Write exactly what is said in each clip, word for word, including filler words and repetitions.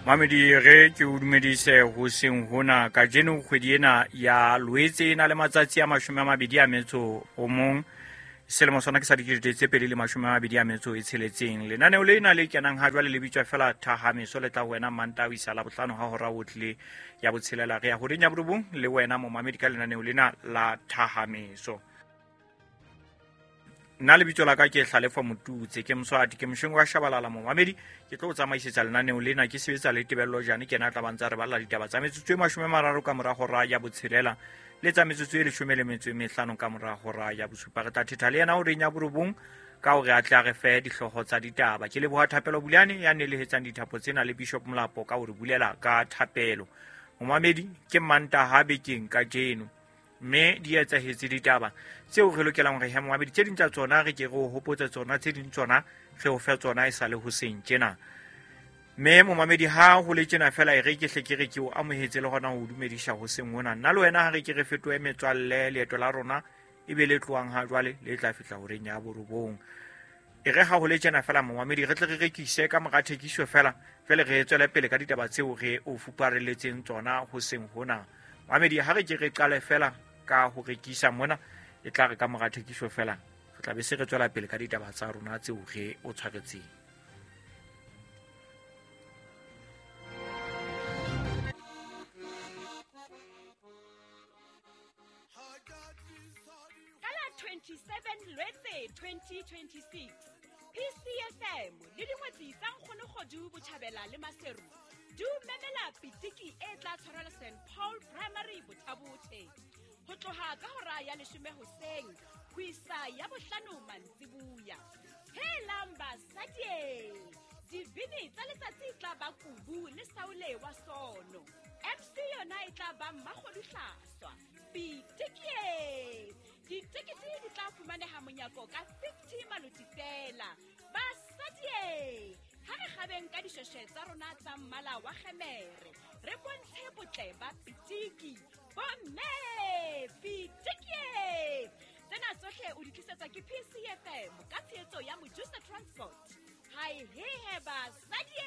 Mamedi re ke o dumedise hoseng hona kajeno kgwedi ena ya Loetse e na le matsatsi a mashome a mabedi a metso o mong. Selemo sona ke sa dikete tse pedi le mashome a mabedi a metso e tsheletseng. Lenaneo lena le kenang ha jwale le bitswa fela Thahameso, le tla ho wena Mantaha ho isa Labohlano ha hora o tlile ya botshelela. Re ya horeng ya borobong le wena momamedi ka lenaneo lena la Thahameso. Nna lebitso la ka ke Hlalefa Motutse, ke Moswati, ke mosheng wa Shabalala momamedi. Ke tlo o tsamaisetsa lenaneo lena ke sebetsa le Tebello Jane, ke yena a tla ba ntsa re balla ditaba tsa metsotso e mashome a mararo ka mora hora ya botshelela le tsa metsotso e leshome le metso e mehlano ka mora hora ya bosupa. Re tla thetha le yena horeng ya borobong ka hore a tle a re fe dihlooho tsa ditaba. Ke leboha Thapelo Bulane ya nelehetsang dithapo tsena le Bishop Molapo ka hore bulela ka thapelo. Momamedi, ke Mantaha bekeng kajeno, mme di etsahetse ditaba tseo re lokelang hore he momamedi, tse ding tsa tsona re ke re o hopotse tsona, tse ding tsona re o fe tsona e sa le hoseng tjena. Mme momamedi, ha ho le tjena fela e re ke hle ke re ke o amohetse le hona ho dumedisa hoseng hona. Nna le wena ha re ke re fetohe metswalle, leeto la rona e be le tlohang ha jwale le tla fihla horeng ya borobong. E re ha ho le tjena fela momamedi, re tle re rekise ka mora thekiso fela, jwale re tswele pele ka ditaba tseo re o fupareletseng tsona hoseng hona. Momamedi, ha re ke re qale fela ka ho rekisa mona, e tla re ka mora thekiso fela re tla be se re tswela pele ka ditaba tsa rona tseo re o tshwaretseng. Ka la twenty-seven Lwetse twenty twenty-six, P C F M le dingwetsi tsa Nkgono Kgodu Botjhabela le Maseru di o memela pitiki e tla tshwarelwa Saint Paul Primary Bothabothe ho tloha ka hora ya leshome hoseng ho isa ya bohlano mantsibuya. Helang basadi, dibini tsa letsatsi e tla ba Kubu le Saule wa Sono. M C yona e tla ba Mmakgodu Hlaswa. Pitiki, ditekete di tla fumaneha monyako ka fifty maloti fela. Basadi, ha re kgabeng ka dishweshwe tsa rona tsa mmala wa kgemere, re bontshe botle ba pitiki. Bomme, pitiki! Tsena tsohle o di tlisetswa ke P C F M ka tshehetso ya Mojusa Transport. Hai hehe basadi!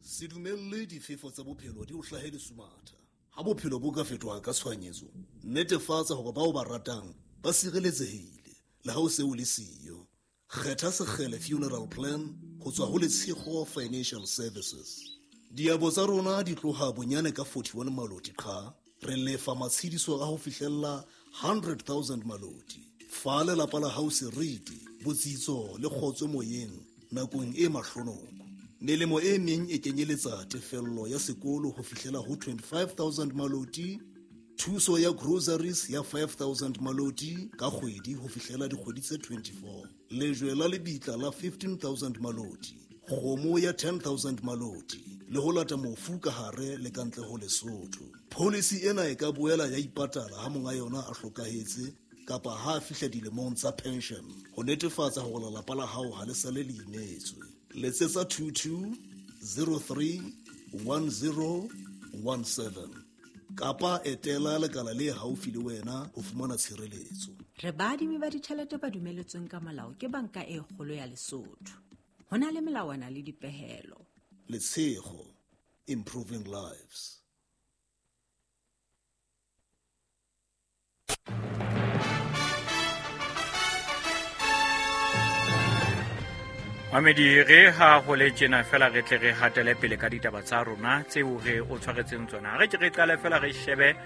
Se dumelle difefo tsa bophelo di o hlahe lesumatha. Ha bophelo bo ka fetoha ka tshohanyetso, netefatsa hore bao ba ratang ba sireletsehile le ha o se o le siyo. Kgetha Sekgele Funeral Plan ho tswa ho Letshego Financial Services. Diabo tsa rona di tloha bonyane ka forty-one maloti qha, re lefa matshediso a ho fihlella hundred thousand maloti. Fa lelapa la hao seriti, botsitso le kgotso moyeng nakong e mahlonoko. Melemo e meng e kenyeletsa tefello ya sekolo ho fihlela ho twenty-five thousand maloti, thuso ya groceries ya five thousand maloti ka kgwedi ho fihlela dikgwedi tse twenty-four, lejwe la lebitla la fifteen thousand maloti, kgomo ya ten thousand maloti, le ho lata mofu ka hare le ka ntle ho Lesotho. Policy ena e ka boela ya ipatala ha monga yona a hlokahetse kapa ha a fihla dilemong tsa pension, ho netefatsa hore lelapa la hao ha le sale le imetswe. Letsetsa two two zero three one zero one seven kapa etela lekala le haufi le wena ho fumana tshireletso. Re baadimi ba ditjhelete ba dumeletsweng ka molao ke Banka e Kgolo ya Lesotho. Ho na le melawana le dipehelo. Letshego, improving lives. Mamedi, re ha ho le tjena fela re tle re hatele pele ka ditaba tsa rona tseo re o tshwaretseng tsona. Re ke re qale fela re shebe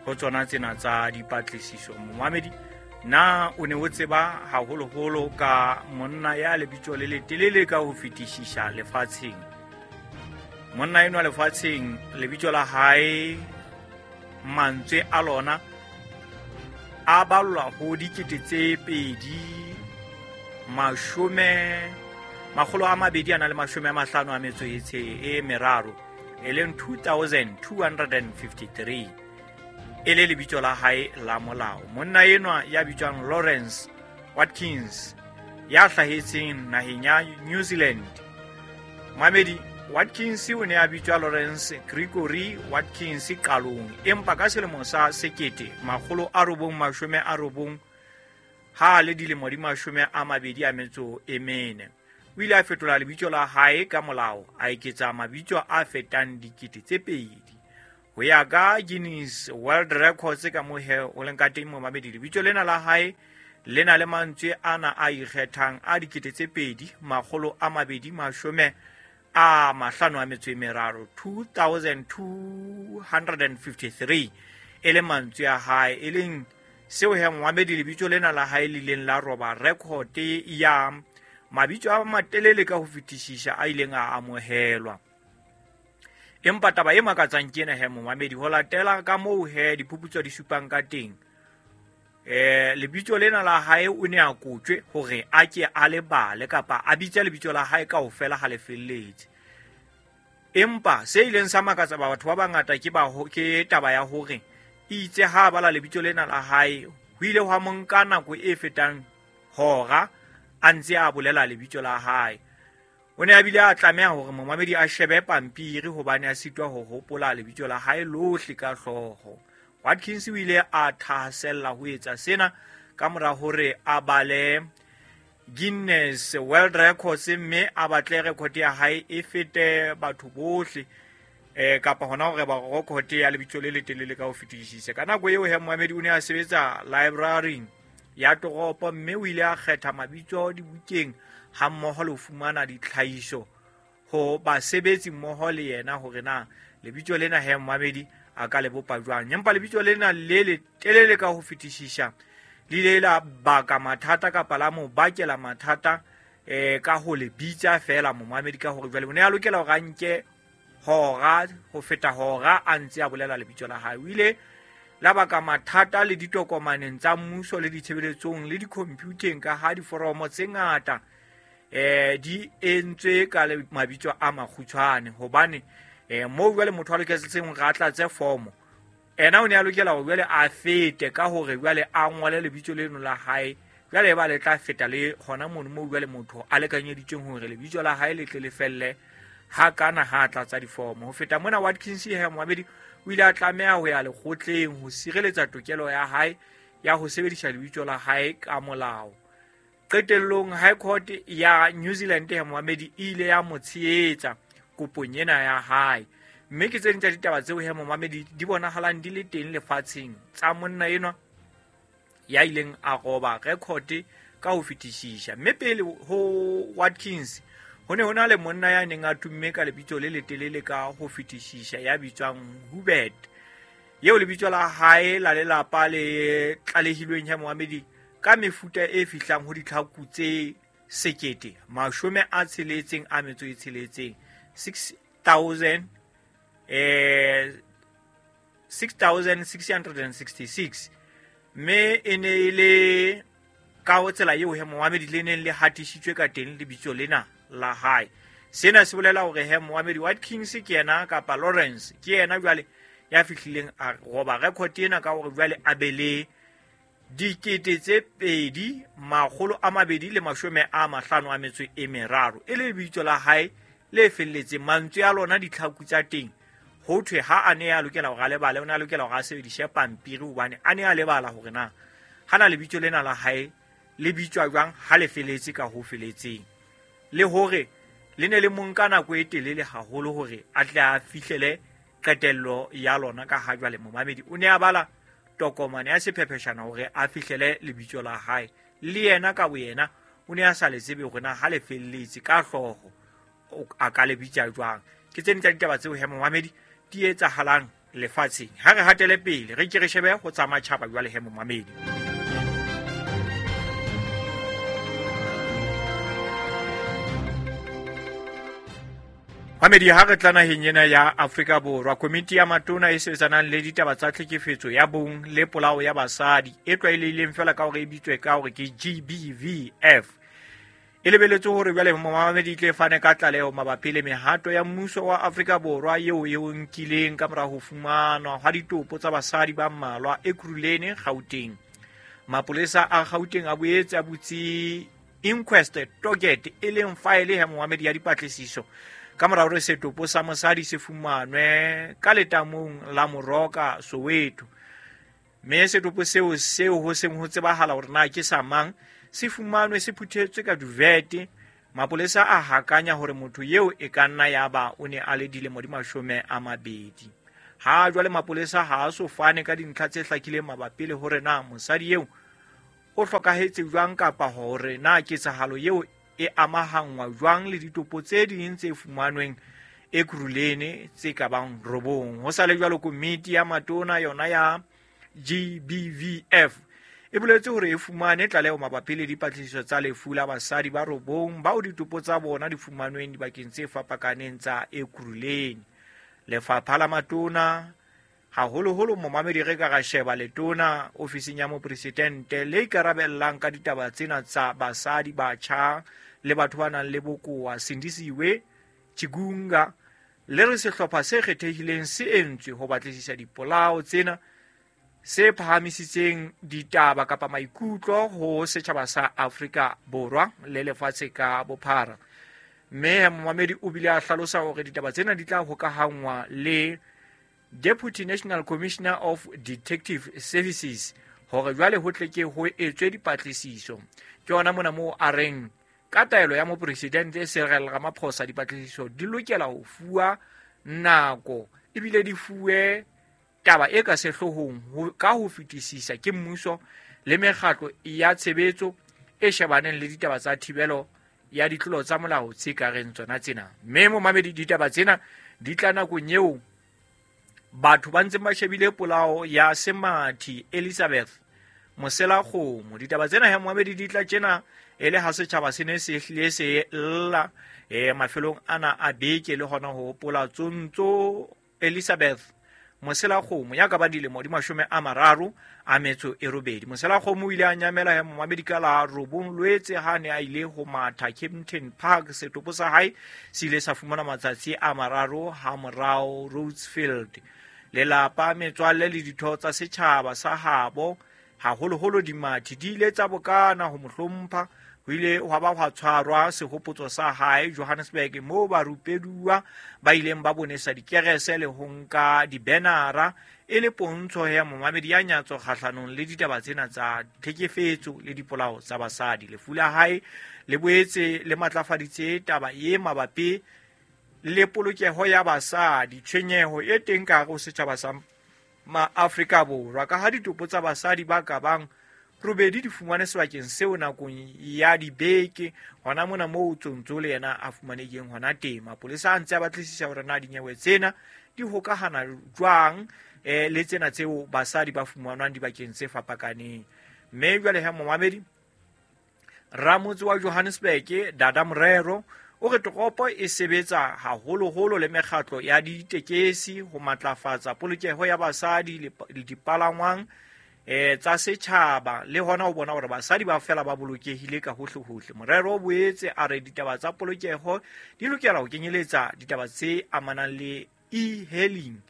ho tsona tsena tsa dipatlisiso. Mamedi, na o ne o tseba haholoholo ka monna ya lebitso le letelele ka ho fetisisa lefatsheng? Monna enwa lefatsheng, lebitso la hae, mantswe a lona a ballwa ho dikete tse pedi mashome makgolo a mabedi a na le mashome a mahlano a metso e tshe e meraro, e leng two thousand two hundred and fifty-three, e le lebitso la hae la molao. Monna enwa ya bitswang Lawrence Watkins, ya hlahetseng naheng ya New Zealand. Mamedi, Watkins o ne a bitswa Lawrence Gregory Watkins qalong, empa ka selemo sa sekete makgolo a robong mashome a robong ha le dilemo di mashome a mabedi a metso e mene. O ile a fetola lebitso la hae ka molao, a eketsa mabitso a fetang dikete tse pedi. Ho ya ka Guinness World Records ka mohe o leng ka teng momamedi, lebitso lena la hae le na le mantswe ana a ikgethang a dikete tse pedi makgolo a mabedi mashome a mahlano a metso e meraro, two thousand two hundred fifty-three, e le mantswe a hae, e leng seo he momamedi lebitso lena la hae le ileng la roba record ya mabitso a matelele ka ho fetisisa a ileng a amohelwa. Empa taba e makatsang ke ena he momamedi, ho latela ka moo he diphuputso di supang ka teng, eh lebitso lena la hae o ne a kotjwe hore a ke a lebale kapa a bitse lebitso la hae kaofela ha le felletse. Empa se ileng sa makatsa batho ba bangata ke ba ke taba ya hore itse ha bala lebitso lena la hae ho ile hwa mo nka nako e fetang hora a ntse a bolela lebitso la hae. O ne a bile a tlameha hore momamedi a shebe pampiri hobane a sitwa ho hopola lebitso la hae lohle ka hlooho. Watkins o ile a thahasella ho etsa sena ka mora hore a bale Guinness World Records mme a batle record ya hae e fete batho bohle, eh kapa hona hore ba record ya lebitso le letelele ka ho fetisisa. Ka nako eo he momamedi o ne a sebetsa library ya toropo mme o ile a kgetha mabitso dibukeng ha mmoho le ho fumana ditlhahiso ho basebetsi mmoho le yena hore na lebitso lena he momamedi a ka le bopa jwang. Empa lebitso lena le letelele ka ho fetisisa le ile la baka mathata kapa la mo bakela mathata eh ka ho le bitsa fela momamedi, ka hore jwale o ne a lokela hore a nke hora ho feta hora a ntse a bolela lebitso la hae. O ile la baka mathata le ditokomaneng tsa mmuso le ditshebeletsong le di-computeng ka ha diforomo tse ngata eh di entswe ka mabitso a makgutshwane, hobane eh moo jwale motho a loketseng hore a tlatse formo ena o ne a lokela hore jwale a fete ka hore jwale a ngole lebitso leno la hae, jwale ba le tla feta le hona mono moo jwale motho a lekanyeditsweng hore lebitso la hae le tle le felle ha kana ha tlatsa diformo. Ho feta mona Watkins he momamedi o ile a tlameha ho ya lekgotleng ho sireletsa tokelo ya hae ya ho sebedisa lebitso la hae ka molao. Qetellong High Court ya New Zealand he momamedi e ile ya mo tshehetsa kopong ena ya hae. Mme ke tse ding tsa ditaba tseo he momamedi di bonahalang di le teng lefatsheng tsa monna enwa ya ileng a roba record ka ho fetisisa. Mme pele ho Watkins ho ne ho na le monna ya neng a tumme ka lebitso le letelele ka ho fetisisa ya bitswang Hubert, eo lebitso la hae la lelapa le tlalehilweng he momamedi ka mefuta e fihlang ho ditlhaku tse sekete mashome a tsheletseng a metso e tsheletseng, six thousand eh six thousand six hundred sixty-six, mme e ne e le ka ho tsela eo he momamedi le neng le hatisitswe ka teng lebitso lena la hae. Sena se bolela hore he momamedi Watkins ke yena kapa Lawrence ke yena jwale ya fihlileng a roba record ena ka hore jwale a be le dikete tse pedi makgolo a mabedi le mashome a mahlano a metso e meraro, e le lebitso la hae le felletseng. Mantswe a lona ditlhaku tsa teng ho thwe ha a ne a lokela hore a lebale, o ne a lokela hore a sebedise pampiri hobane a ne a lebala hore na hana lebitso lena la hae le bitswa jwang ha le feletse ka ho feletseng, le hore le ne le mo nka nako e telele haholo hore a tle a fihlele qetello ya lona, ka ha jwale momamedi o ne a bala tokomane ya sephepheshana hore a fihlele lebitso la hae. Le yena ka boyena o ne a sa le tsebe hore na ha le felletse ka hlooho a ka le bitsa jwang. Ke tse ding tsa ditaba tseo he momamedi di etsahalang lefatsheng. Ha re hatele pele re ke re shebe ho tsa matjhaba jwale he momamedi. Mamedi, ha re tla naheng ena ya Afrika Borwa, komiti ya matona e sebetsanang le ditaba tsa tlhekefetso ya bong le polao ya basadi e tlwaelehileng fela ka hore e bitswe ka hore ke G B V F e lebeletse hore jwale momamedi tle fane ka tlaleho mabapi le mehato ya mmuso wa Afrika Borwa eo e o nkileng ka mora ho fumanwa hwa ditopo tsa basadi ba mmalwa Ekurhuleni, Gauteng. Mapolesa a Gauteng a boetse a butse inquest docket e leng faele ya momamedi ya dipatlisiso ka mora hore setopo sa mosadi se fumanwe ka letamong la Moroka, Soweto. Mme setopo seo seo ho seng ho tsebahala hore na ke sa mang se fumanwe se phuthetswe ka duvet. Mapolesa a hakanya hore motho eo e ka nna ya ba o ne a le dilemo di mashome a mabedi. Ha jwale mapolesa ha a so fane ka dintlha tse hlakileng mabapi le hore na mosadi eo o hlokahetse jwang kapa hore na ketsahalo eo e amahangwa jwang le ditopo tse ding tse fumanweng Ekurhuleni tse ka bang robong. Ho sa le jwalo komiti ya matona yona ya G B V F e boletse hore e fumane tlaleho mabapi le dipatlisiso tsa lefu la basadi ba robong bao ditopo tsa bona di fumanweng dibakeng tse fapakaneng tsa Ekurhuleni. Lefapha la matona haholoholo momamedi re ka ra sheba letona ofising ya mopresidente le ikarabellang ka ditaba tsena tsa basadi, batjha le batho ba nang le bokowa Sindisiwe Chigunga le re sehlopha se kgethehileng se entswe ho batlisisa dipolao tsena se phahamisitseng ditaba kapa maikutlo ho setjhaba sa Afrika Borwa le lefatshe ka bophara. Mme momamedi o bile a hlalosa hore ditaba tsena di tla hokahangwa le Deputy National Commissioner of Detective Services hore jwale ho tle ke ho etswe dipatlisiso. Ke yona mona moo a reng ka taelo ya mopresidente Cyril Ramaphosa dipatlisiso di lokela ho fuwa nako ebile di fuwe taba e ka sehloohong ka ho fetisisa ke mmuso le mekgatlo ya tshebetso e shebaneng le ditaba tsa thibelo ya ditlolo tsa molao tse ka reng tsona tsena. Mme momamedi ditaba tsena di tla nakong eo batho ba ntseng ba shebile polao ya Semathi Elizabeth Moselakgomo. Ditaba tsena he momamedi di tla tjena e le ha setjhaba se ne se hlile se lla e mafelong ana a beke le hona ho hopola Tsontso Elizabeth Moselakgomo ya ka ba dilemo di mashome a mararo a metso e robedi. Moselakgomo o ile a nyamela ya momamedi ka la robong Lwetse ha ne a ile ho matha Kempton Park. Setopo sa hae se ile sa fumana matsatsi a mararo ha morao Rhodesfield. Lelapa, metswalle le ditho tsa setjhaba sa habo haholoholo dimathi di ile tsa bokana ho mo hlompha. Ho ile hwa ba hwa tshwarwa sehopotso sa hae Johannesburg moo barupeduwa ba ileng ba bonesa dikerese le ho nka dibenara e le pontsho ya momamedi ya nyatso kgahlanong le ditaba tsena tsa tlhekefetso le dipolao tsa basadi. Lefu la hae le boetse le matlafaditse taba e mabapi le polokeho ya basadi, tshwenyeho e teng ka hare ho setjhaba sa Maafrika Borwa ka ha ditopo tsa basadi ba ka bang robedi di fumane sebakeng seo nakong ya dibeke hona mona moo Tsontso le yena a fumanehileng hona teng. Mapolesa a ntse a batlisisa hore na dinyewe tsena di hokahana jwang eh, le tsena tseo basadi ba fumanwang dibakeng tse fapakaneng. Mme jwale ha momamedi ramotse wa Johannesburg Dada Morero o re toropo e sebetsa haholoholo le mekgatlo ya ditekesi ho matlafatsa polokeho ya basadi le dipalangwang eh tsa setjhaba le hona ho bona hore basadi ba fela ba bolokehile ka hohle hohle. Morero o boetse a re ditaba tsa polokeho di lokela ho kenyeletsa ditaba tse amanang le e-hailing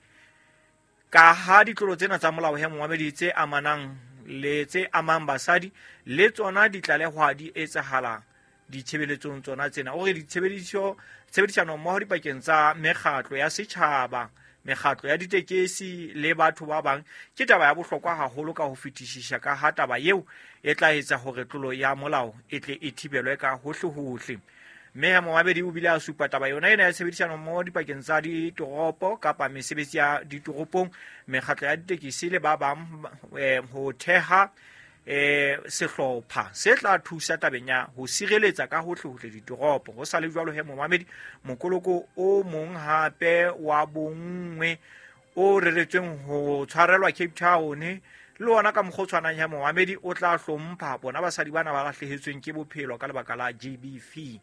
ka ha ditlolo tsena tsa molao he momamedi tse amanang le tse amang basadi le tsona di tlalehwa di etsahala ditshebeletsong tsona tsena. O re ditshebediso tshebedisano mmoho dipakeng tsa mekgatlo ya setjhaba, mekgatlo ya ditekesi le batho ba bang ke taba ya bohlokwa haholo ka ho fetisisa ka ha taba eo e tla etsa hore tlolo ya molao e tle e thibelwe ka hohle-hohle. Mme ha momamedi o bile a supa taba yona ena ya tshebedisano mmoho dipakeng tsa ditoropo kapa mesebetsi ya ditoropong, mekgatlo ya ditekesi le ba bang eh, ho theha eh sehlopha se tla thusa tabeng ya ho sireletsa ka hohle-hohle ditoropo. Ho sa le jwalo he momamedi mokoloko o mong hape wa bonngwe o reretsweng ho tshwarelwa Cape Town le ona ka mokgwa o tshwanang ya momamedi o tla hlompha bona basadi bana ba lahlehetsweng ke bophelo ka lebaka la G B V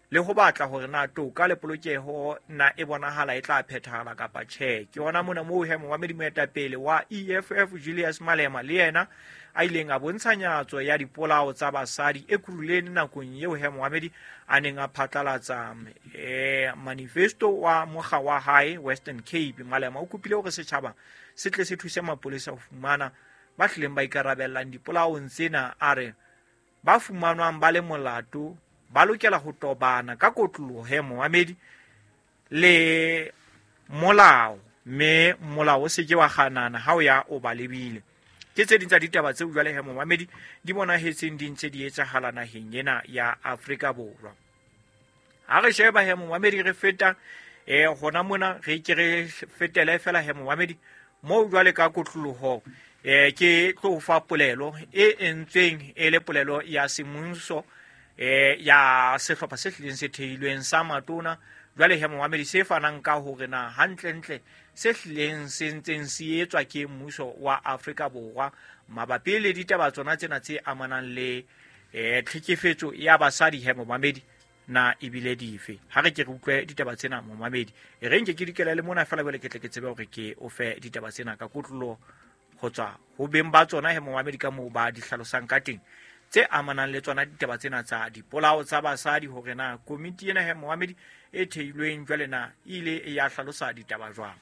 le ho batla hore na toka le polokeho na e bonahala e tla phethahala kapa tjhe. Ke hona mona moo he momamedi moetapele wa E F F Julius Malema le yena a ileng a bontsha nyatso ya dipolao tsa basadi Ekurhuleni nakong eo he momamedi a neng a phatlalatsa eh, manifesto wa mokga wa hae Western Cape. Malema o kopile hore setjhaba se tle se thuse mapolesa ho fumana ba hlileng ba ikarabellang dipolaong tsena. A re ba fumanwang ba le molato ba lokela ho tobana ka kotloloho he momamedi le molao, mme molao o se ke wa kganana ha o ya o ba lebile. Ke tse ding tsa ditaba tseo jwale he momamedi di bonahetseng di ntse di etsahala naheng ena ya Afrika Borwa. Ha re sheba he momamedi re feta eh hona mona re ke re fetele fela he momamedi moo jwale ka kotloloho eh ke tlo fa polelo e entsweng e le polelo ya semmuso eh ya sehlopha se hlileng se theilweng sa matona jwale he momamedi se fanang ka hore na hantlentle se hlileng se ntseng se etswa ke mmuso wa Afrika Borwa mabapi le ditaba tsona tsena tse amanang le eh tlhekefetso ya basadi he momamedi na ebile dife. Ha re ke re utlwe ditaba tsena momamedi, e re nke ke dikela le mona fela jwale ke tle ke tsebe hore ke o fe ditaba tsena ka kotlolo ho tswa ho beng ba tsona he momamedi ka moo ba di hlalosang ka teng tse amanang le tsona ditaba tsena tsa dipolao tsa basadi, hore na komiti ena he momamedi e theilweng jwale na e ile ya hlalosa ditaba jwang.